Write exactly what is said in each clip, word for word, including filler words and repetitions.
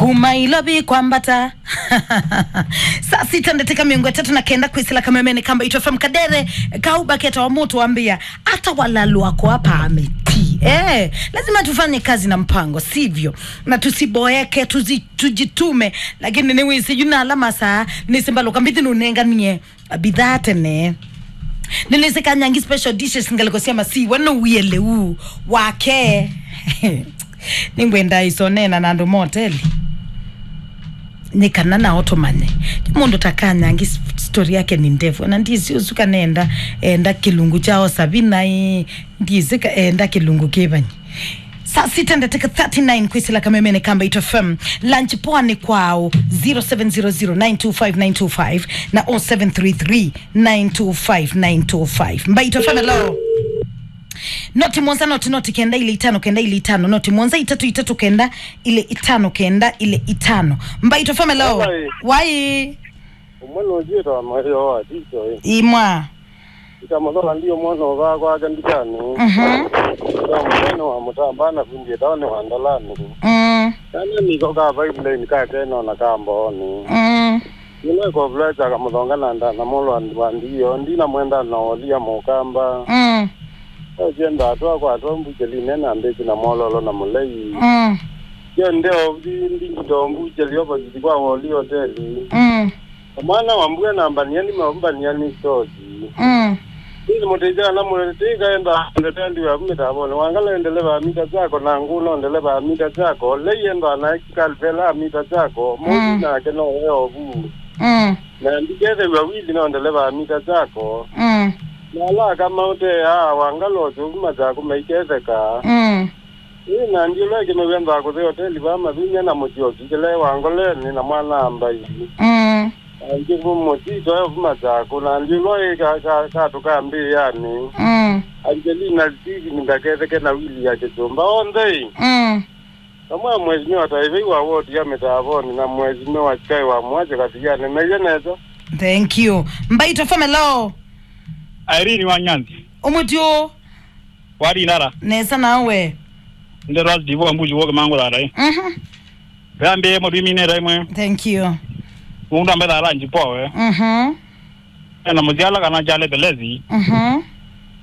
Uma ilovi kwambata. Saa sita ndatĩka mĩongo ĩtatũ na kenda kwĩsĩla kamemene ka Mbaitũ F M. Kadere kau baketa wa mũtu wambĩa, ata walalwa kwa pamiti. Eh, lazima tufanye kazi na mpango, sivyo? Na tusiboeke, tuzi-, tujitume. Lakini nĩwĩsĩ yu na ala masaa nĩsimbaluka mbithi nũnenganie bidhaa tene. Nĩnĩsĩ Kanyangi special dishes, ngalĩko sya masiwa, nũwie lĩu wake. Nĩngwenda isoneena na andũ ma hoteli. Nĩ kana nao tũmanye. Mũndũ ta Kanyangi s-, story yake nĩ ndefu. Na ndisi ũsu kana enda, enda kĩlungu kya osa vina ĩ, ndisi ka enda kĩlungu kĩvanyi. Saa sita ndatĩka thirty-nine kwĩsĩla kamemene ka Mbaitũ F M. Lunch poa nĩ kwao, zero seven zero zero nine two five nine two five na oh seven three three nine two five nine two five. Mbaitũ F M, hello. Noti mũonza, noti, noti kenda ilĩ itano kenda ilĩ itano, noti mũonza itatu itatu kenda ilĩ itano kenda ilĩ itano. Mbaitũ F M, hello. Wai. Wai. Ũmwe nũnjĩta wa mayo wa Tito, ĩ. Imwa. Ita mũthola ndio mwana ũvaa kwake ndukanĩ. Mhm. Ita mũthola nĩ wa mũtamba na kundi ĩtawa nĩ wa ndalani. Mm. Kana niko ka pipeline ka keno na ka mbooni. Mm. Nĩwe kovuleta kamũthonga na nda na mũlwa wa ndiyo. Ndina mwenda na olia mũkamba. Mm. Osienda atwa kwa atwa mbuchelinĩ na mbĩki na mwololo na mũlei. Mm. Yo ndeo ndi ndito mbucheli opposite kwa Woli hoteli. Mm. Mwana wa mbua na mbania ni mambania ni sosi. Mm. Ni mũteja na mũtĩka enda ndetendi wa mita bone. Wangala endeleva mita zako na nguno endeleva mita zako. Lei enda na kalvela mita zako. Mũndũ Mm. nake no weovu. Mm. Na ndikethew'a wili no ndeleva mita zako. Mm. Na ala akamaũteaa wangala ũsũvu machako maiketheka. Mm. Ĩ, na ndiũlwa ĩkĩmew'a nthakũthĩ hoteli vaa mathunya na mũtyoki kĩla wa ngoleni na mwana ambai. Mm. Angĩ mũtito e vuma chako, na ndiũlwa ĩ ka, ka, katũ ka mbĩanĩ. Mm. Angelina Steven ndaketheke na wili ya kĩsũmba. Onthe ĩ. Mm. Vamwe na mheshimiwa Taivei wa ward ya Mitavoni na mheshimiwa Chikai wa Mwache Kathiani. Meye nesa. Thank you. Mbaitũ F M, hello. Irene wa Nyanzi. Ũmũtĩ ũũ. Wari nara. Nesa nawe. Nde Ras Divo Mbuji woke mangu rara, eh. Mhm. Rambe mo dimi ne raimwe. Thank you. Unda mbetha ranji poe. Mhm. Ena muziala kana jale pelezi. Mhm.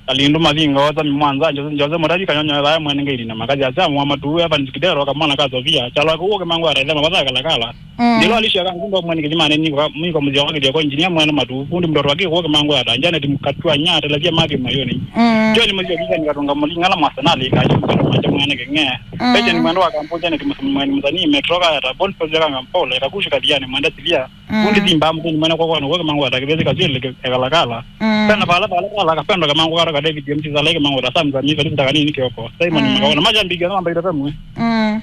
Kalindu mavinga oza mi mwanza Jose, Jose Murari kanyonyo ya mwene ngiri na makazi ya Samu wa matu ya Vanji Kidero kamwana ka Sofia. Chalo ko woke mangu rara, ema baza kala kala. Mm. Ndilo alisha kangundo mwene kizimane niko, niko mzee wake kwa engineer mwene matu. Fundi mtoto wake woke mangu rara. Njane timkatwa nya telezia maki mayoni. Mm. John mzee kizani katonga mulingala mwasanali kacho mtoto mwacha mwene kenge. Mm. Pecha ni mwendo wa kampo Janet Mus-, mwene msanii Metro ka ta Bon Pose kanga mpole kakusha Kathiani mwenda silia. Mm. Fundi simba mkuni mwene kwa kwa woke mangu rara kibezi kazile ke ekalakala. Mm. Kana pala pala pala kapendo kamangu kara ka David M T Zalaike mangu rara Sam Zami Felix Takani ni kioko. Simon Mm. Makaona majambi kana mbaira pemwe. Mm.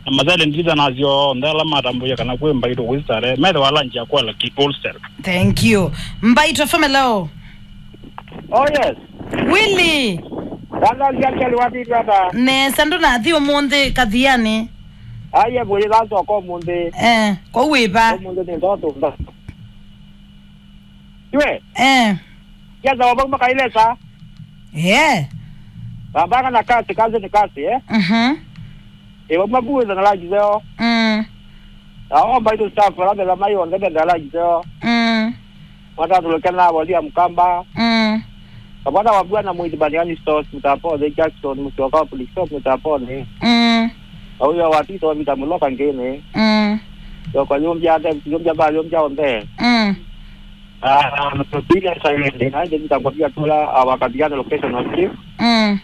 Na mazale ndiza nazio ndala matambuya kana kwĩ Mbaitũ wizare. Methe wala njia kwa la ki wholesale. Thank you. Mbaitũ F M, hello. Oh, yes. Willy. Dada, siakeli wapi dada? Nesa, ndũnathi ũmũnthĩ Kathiani? Aye, bwĩ dada kwa mũnthĩ. Eh, kwa wĩva? Ũmũnthĩ nĩ ndoto, ndoto. Iwe? Eh. Kiasa wabau makailesa? Eh. Bambanga na kasi, kasi ni kasi, eh? Mhm. Ĩĩ, vamwe vuĩtha na langi zeo. Mm. Na o Mbaitũ staff ala metha mai onthe metha langi zeo. Mm. Mwatatũlũke na Volia Mkamba. Mm. Kavana wa Bwana Mwĩthi Baniani Stores, Mutapone, Jackson, Mũsyoka wa Police Stop, Mutapone. Mm. Auyo wa Tito, Vita Muloka Ngĩnĩ. Mm. Yoko yumbia, David yumbia, ba yumbia onthe. Mm. Ah, tupiga silent. Na ndio nitakwambia tu la, ah, wakabiliana location wa chief. Mm.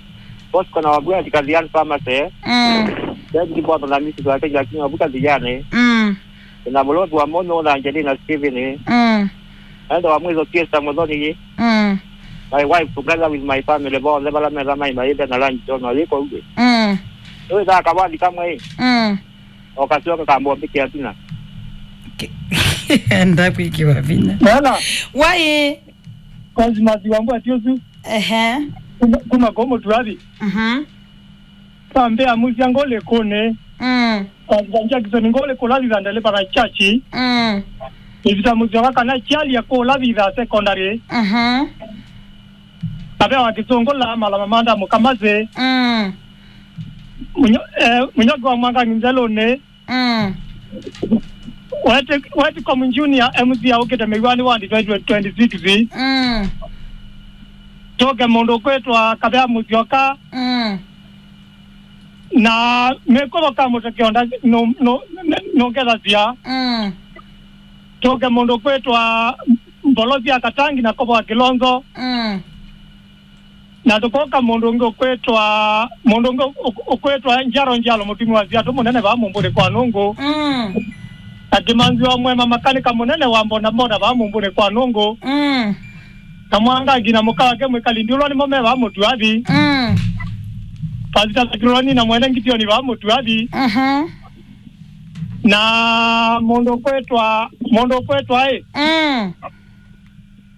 Bosco na Wagwea Kathiani pharmacy. Mm. David Bwana na misi kwa Kenya King of Kathiani. Mm. Na Mulovi wa Mono na Angelina Steven. Mm. Enda wa mwizo Fiesta Muthoni. Mm. My wife together with my family, bo, le bala mera mai mai na lunch, no, yiko uge. Mm. Wewe da kabali kamwe. Mm. Okasyoka kambombĩkĩa tina. Ke-, enda kwĩkĩwa vinya. Nana. Wai. Cosmas Wambua Tiosu. Ehe. Kuma, kuma komo turabi. Mhm. Tambe amusia ngole kone. Mm. Pastor Jackson ngole kula thitha ndele para chachi. Mm. Ivita musyoka kana chiali ya kula thitha secondary. Mhm. Abe wa Kisungu la malama manda Mukamazi. Mm. Munyo-, eh, Munyoki wa Mwanga Nginzelone. Mm. Weti, Weti Komu Junior M C aũkĩte Mĩwani wandi twenty twenty-six. Mm. Tũke mũndũ kwĩtwa Kavea Mũsyoka. Mm. Na mĩkũvo ka mũteke onda nũ-, nũ-, nũngethasya. Mm. Tũke mũndũ kwĩtwa Mbolosi ya Katangi na Kovo wa Kilonzo. Mm. Na tũkoka mũndũ ũngĩ ũkwĩtwa, mũndũ ũngĩ ũk-, ũkwĩtwa Njaro Njalo, mũtumi wa siatũ mũnene vaa Mũmbũnĩ kwa Nũngũ. Mm. Na Kĩmanzi wa Mwema, makanika mũnene wa mbonda mbonda vaa Mũmbũnĩ kwa Nũngũ. Mm. Na Mwangangi na mũka wake mwĩkali ndiũlwa nĩmo me vaa Mũtuathi. Mm. Pasita Sakironi na mwene Ngitioni vaa Mũtuathi. Mhm. Na mũndũ ũkwĩtwa, mũndũ ũkwĩtwa ĩ. Mm.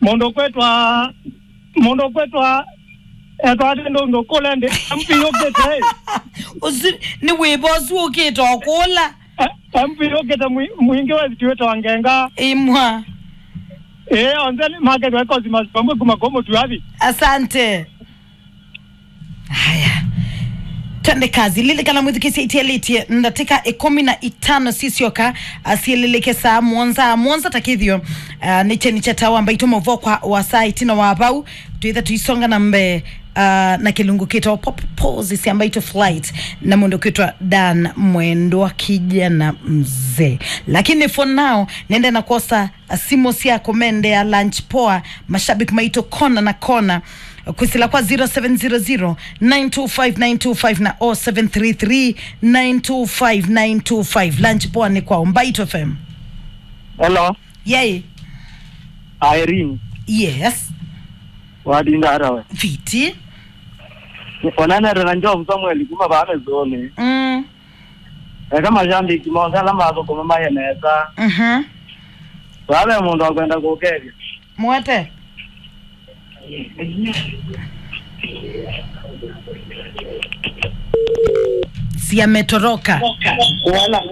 Mũndũ ũkwĩtwa, mũndũ ũkwĩtwa, etwa atĩ ndũ, ndũkũle ndĩ, M P yũkĩte, ĩ. Ũsu nĩ wĩva ũsu ũkĩte o kũla? Eh, M P yũkĩte mwi-, mwingĩ wĩsitiwĩte wa ngenga. Imwa. Ĩĩ, onthe nĩ makethwa ĩkosi masipambwe kuma kwa Mũtuathi. Asante. Haya. Twende kazi. Lilikana mwĩthukĩĩsya itialĩtye ndatĩka ĩkũmi na itano sisyoka, asiĩlĩlĩke saa mũonza. Mũonza takĩthyo, ah, nĩ kyeni kya tawa Mbaitũ mũvokwa wa saa ĩtina wa vau. Twĩtha tũisonga na mbee, ah, na kĩlungu kĩtawa Pop Pose sya Mbaitũ Flight na mũndũ kwĩtwa Dan Mwendwa kijana mzee. Lakini for now, nende na kwosa simũ sya kũmendea lunch poa, mashabiki maitũ kona na kona. Kwĩsĩla kwa zero seven zero zero, nine two five, nine two five na oh seven three three, nine two five, nine two five. Lunch poa nĩ kwa Mbaitũ F M. Hello. Yay. Irene. Yes. Watinda ata we? Fiti. Onanete na Job Samuel kuma vaa Mĩsũnĩ. Mm. Eka mashabiki monthe ala mathũkũma maye nesa. Mhm. Vaa ve mũndũ akwenda kũkethya. Mwete. Siametoroka. Wala.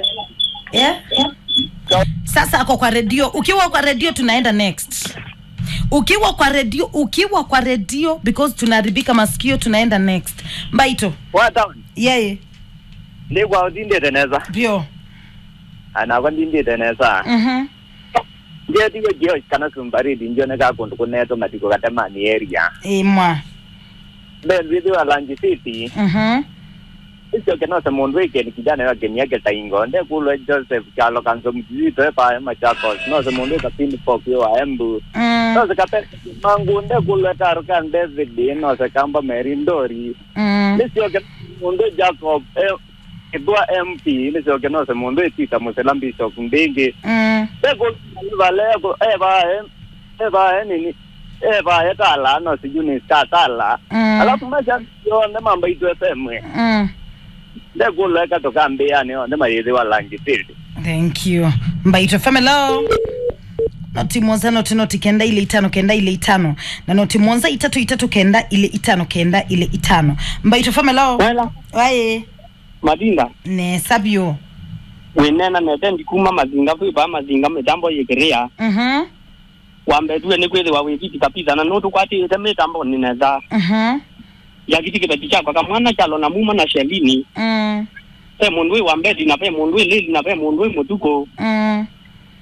Eh? Sasa ako kwa redio. Ukiwa kwa redio tunaenda next. Ukiwa kwa redio, ukiwa kwa redio, because tunaharibika masikio, tunaenda next. Mbaitũ. Wa town. Yeye. Nĩ kwa ũtindĩte nesa. Bio. Anakwa ndindĩte nesa. Mhm. Njetiwe kĩo kana sumbariti njoneka kũndũ kũneetwe matikũ Katemani area. Imwa. Mbendwĩthĩwa Langi City. Mhm. Isyoke nose mũndũ ĩkeni kijana wa kenia kĩtaingo. Ndekũlwe Joseph Kyalo Kanzo Mzito epae Machakos. Nose mũndũ ĩkapini pop yo wa Embu. Mm. Nose kape mangu ndekũlwe Tarukan David. Nose kamba Mary Ndori. Mm. Nĩsyoke mũndũ Jacob, eh, Kĩthũa M P, nĩsyoke nose mũndũ ĩ Peter Mũsela Bishop mbĩngĩ. Mm. Ndekũlwa nĩ vale, evaa, evaa nini, evaa etala, nose Eunice Katala. Mm. Alafu mashabiki onthe ma Mbaitũ F M. Mm. Ndekũlwa eka tũkambĩanĩ onthe mayĩthĩwa Langi Field. Thank you. Mbaitũ F M, hello. Noti mũonza, noti, noti kenda ilĩ itano, kenda ilĩ itano. Na noti mũonza, itatũ, itatũ, kenda, ilĩ itano, kenda, ilĩ itano. Mbaitũ F M, hello. Wela. Waĩ. Mavinda. Nesa vyũ. Wĩneena nete ndi kuma Mazinga, kwĩ vaa Mazinga mĩtambo yĩkĩrĩa. Mhm. Wambetue nĩ kwĩthĩwa wĩ fiti kabisa, na nũtũkwatĩĩte mĩtambo nĩ nesa. Mhm. Yakiti kĩveti kyakwa kamwana kyalo na muma na Shelini. Mm. Ve mũndũ wĩ wa mbeti, na ve mũndũ wĩ lĩli, na ve mũndũ wĩ mũtukũ. Mm.